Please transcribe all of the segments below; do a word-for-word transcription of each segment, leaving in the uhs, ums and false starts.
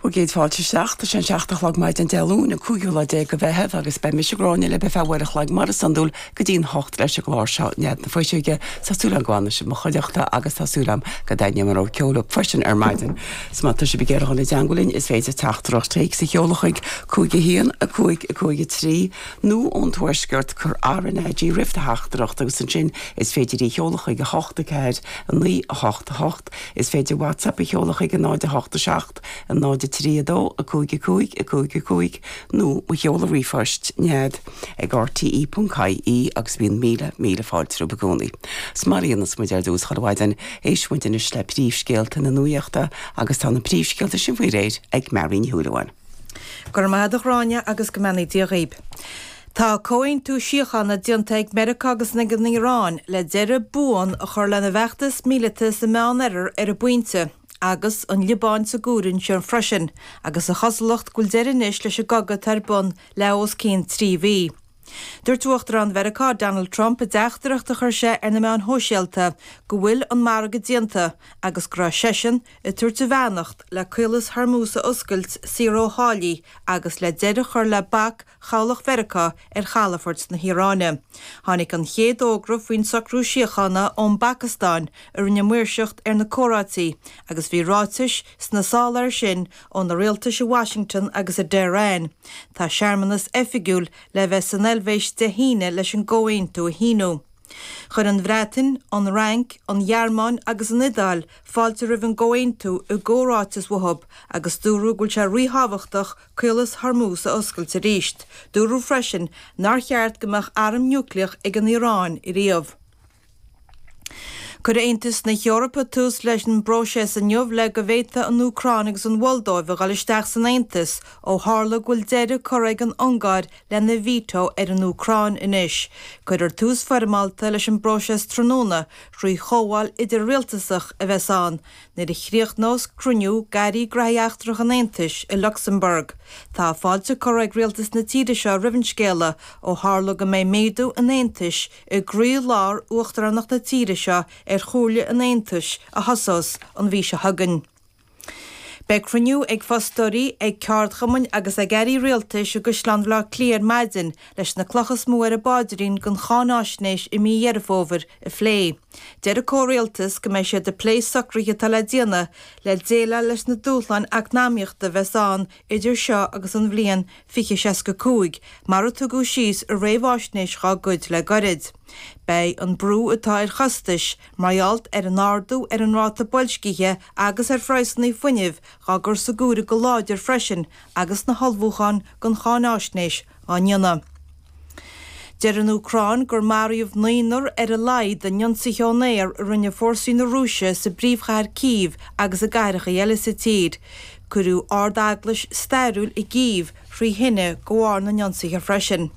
Bhur gcéad fáilte isteach, tá sé an seacht a chlog maidin Dé Luain an cúigiú lá déag de Mheitheamh agus beidh mise Gráinne libh ar feadh uair a chloig mar is iondúil go dtí'n hocht leis an gclár seo Nead na Fuiseoige. Tá súil agam go bhfanfaidh sibh i mo chuideachta agus tá súil agam go dtaitneoidh an rogha ceoil freisin ar maidin. 'S má tá sibh ag iarraidh dul i dteagmháil linn is féidir teachtaireacht téacs a sheoladh chuig cúig a haon a cúig a cúig a trí nó ón tuaisceart cuir RnaG roimh do theachtaireacht agus ansin is féidir í a sheoladh chuig a hocht a ceathair a naoi a hocht a hocht. Is féidir WhatsApp a sheoladh chuig a náid a hocht a seacht a náid a trí a dó a cúig a cúig a cúig a cúig nó mo sheoladh ríomhphoist nead ag rte.ie agus bíonn míle míle fáilte romhaibh i gcónaí. 'S mar a dhéanas muid ar dtús chuile mhaidin éistfidh muid anois le príomhscéalta na nuachta agus tá na príomhscéalta sin faoi réir ag Mary Ní Shúilleabháin. Go raibh maith agat a Ghráinne agus go mbeannaí Dia dhaoib. Tá comhaontú síochána déanta ag Meiriceá agus ag an Iaráin le deireadh buan a chur lena bhfeachtas míleata sa Meánoirthear ar an bpointe, agus an Liobáin sa gcomhaireamh ansin freisin, agus an chosúlacht go bhfuil deireadh anois leis an gcogadh atá ar bun le os cionn trí mhí. Dúirt Uachtarán Mheiriceá Donald Trump i dteachtaireacht a chuir sé ar na meáin shóisialta go bhfuil an margadh déanta agus go raibh seisean ag tabhairt a bheannacht le Caolas Hormuz a oscailt saor ó tháillí agus le deireadh a chur le bac chabhlach Mheiriceá ar chalafort na hIaráine. Tháinig an chéad fhógra faoin socrú síochána ón bPacastáin a rinne maoirseacht ar na comhráití agus bhí ráitis sna sála air sin ó na rialtais i Washington agus i dTehran. Tá searmanas oifigiúil le bheith san Eilvéis Dé hAoine leis an gcomhaontú a shíniú. Chuir an Bhreatain, an Fhrainc, an Ghearmáin agus an Iodáil fáilte roimh an gcomhaontú i gcomhráiteas uathu agus dúradh go bhfuil sé ríthábhachtach Caolas Hormuz a oscailt arís. Dúradh freisin nár cheart go mbeadh arm núicléach ag an Iaráin riamh. Cuirfidh Aontas na hEorpa tús leis an bpróiseas inniu le go bhféadfadh an Úcráin agus an Mholdóiv a dhul isteach san Aontas ó tharla go bhfuil deireadh curtha ag an Ungáir lena veto ar an Úcráin anois. Cuirfear tús foirmeálta leis an bpróiseas tráthnóna trí chomhdháil idir-rialtasach a bheas ann nuair a chríochnós cruinniú d'airí gnóthaí eachtracha an Aontais i Lucsamburg. Tá fáilte curtha ag rialtas na tíre seo roimh an scéala ó tharla go mbeidh méadú an Aontais i gcroílár uachtaránacht na tíre seo ar Chomhairle an Aontais a thosós an mhí seo chugainn. Beidh cruinniú ag fostóirí, ag ceardchumainn agus ag airí rialtais i gCaisleán Bhaile Átha Cliath ar maidin leis na clocha is mó ar an bpaidrín don cháináisnéis i mí Dheireadh Fómhair a phlé. Deir an comhrialtas go mbeidh siad ag plé socruithe atá le déanamh le déileáil leis na dúshláin eacnamaíochta a bheas ann idir seo agus an bhliain fiche seasca cúig, mar a tugadh síos i réamhaisnéis dhá gcuid le gairid. Beidh an brú atá ar chostais mar gheall ar an ardú ar an ráta boilscithe agus ar phraghsanna fuinnimh dhá gcur sa gcomhaireamh go láidir freisin agus na hullmhúcháin don cháináisnéis á ndéanamh. Deir an Úcráin gur maraíodh naonúr ar a laghad in ionsaithe ón aer a rinne fórsaí na Rúise sa bpríomhchathair Cív agus i gcathracha eile sa tír. Cuireadh ard-eaglais stairiúil i gCív thrí thine de bharr na n-ionsaithe freisin.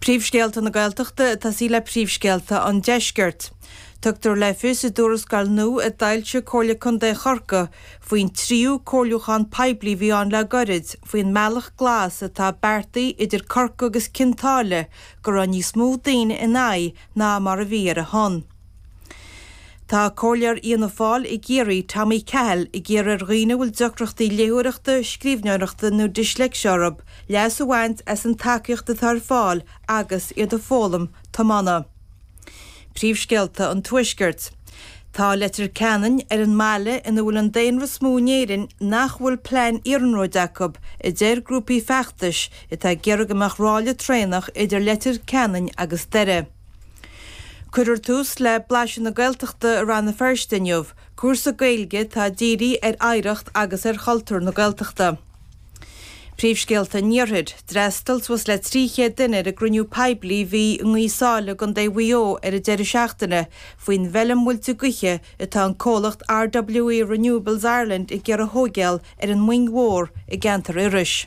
Príomhscéalta na Gaeltachta ag tosaí le príomhscéalta an Deiscirt. Tugtar le fios i dtuarascáil nua a d'fhoilsigh Comhairle Contae Chorcaí faoin tríú comhairliúchán poiblí a bhí ann le gairid faoin mbealach glas atá beartaithe idir Corcaigh agus Cionn tSáile go raibh níos mó daoine ina aghaidh ná mar a bhí ar a shon. Tá Comhairleoir Fhianna Fáil i gCiarraí, Tommy Cahill, ag iarraidh ar dhaoine a bhfuil deacrachtaí léitheoireachta, scríbhneoireachta nó disléicse orthu, leas a bhaint as an tacaíocht atá ar fáil agus iad ag foghlaim tiomána. Príomhscéalta an Tuaiscirt. Tá Leitir Ceanainn ar an mbaile ina bhfuil an daonra is mó in Éirinn nach bhfuil plean iarnróid acu, a deir grúpaí feachtais atá ag iarraidh go mbeadh ráille traenach idir Leitir Ceanainn agus Doire. Cuirfear tús le Blaiseadh na Gaeltachta i Rann na Feirste inniu, cúrsa Gaeilge atá dírithe ar oidhreacht agus ar chultúr na Gaeltachta. Príomhscéalta an Iarthair, D'fhreastail suas le trí chéad duine ar an gcruinniú poiblí a bhí i nGaoth Sáile i gContae Mhaigh Eo ar an deireadh seachtaine faoin bhfeilm muilte gaoithe atá an comhlacht RWE Renewables Ireland ag iarraidh a thóigeáil ar an Mhoing Mhór i gceantar Iorrais.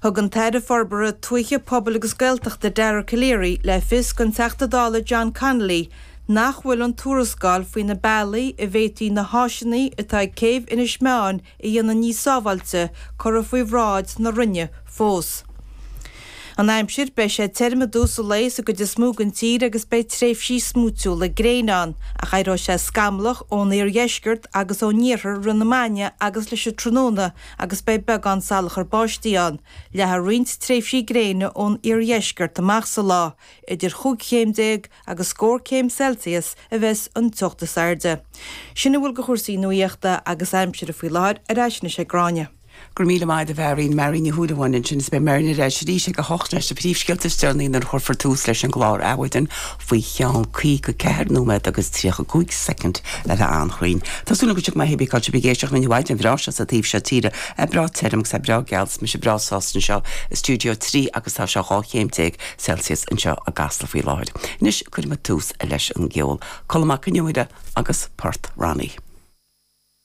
Thug an tAire Forbartha Tuaithe, Pobail agus Gaeltachta Dara Calleary le fios don Teachta Dála John Connolly nach bhfuil an tuarascáil faoi na bealaí a bhféadfaí na háiseanna atá ag céibh Inis Meáin a dhéanamh níos sábháilte curtha faoi bhráid na Roinne fós. An aimsir beidh sé tirim i dtús an lae sa gcuid is mó den tír agus beidh tréimhsí smúitiúla gréine ann, ach éireoidh sé scamallach ón iardheisceart agus ón iarthar i rith na maidne agus leis an tráthnóna agus beidh beagán salachar báistí ann. Leathfaidh roinnt tréimhsí gréine ón iardheisceart amach sa lá. Idir chúig chéim déag agus scór céim Celsius a bheas an teocht is airde. Sin a bhfuil de chúrsaí nuachta agus aimsire faoi láthair, ar ais anois ag Gráinne. Go raibh míle maith agat a Mháirín, Máirín Ní Shúilleabháin ansin is beidh Máirín ar ais arís ag a hocht leis na príomhscéalta is deireanaí nuair a chuirfear tús leis an gclár Adhmhaidin faoi cheann caoga ceathair nóiméad agus tríocha cúig soicind le bheith an-chruinn. Tá súil agam go bhfuil sibh go maith cibé cá bhfuil sibh ag éisteacht linn an mhaidin bhreá seo sa taobh seo tíre. É breá tirim agus é breá geal is mise breá sásta anseo i stiúideo trí agus tá sé dhá chéim déag Celsius anseo i gCasla faoi láthair. Anois cuirfidh muid tús leis an gceol. Colm Mac Con Iomaire agus Port Ronnie.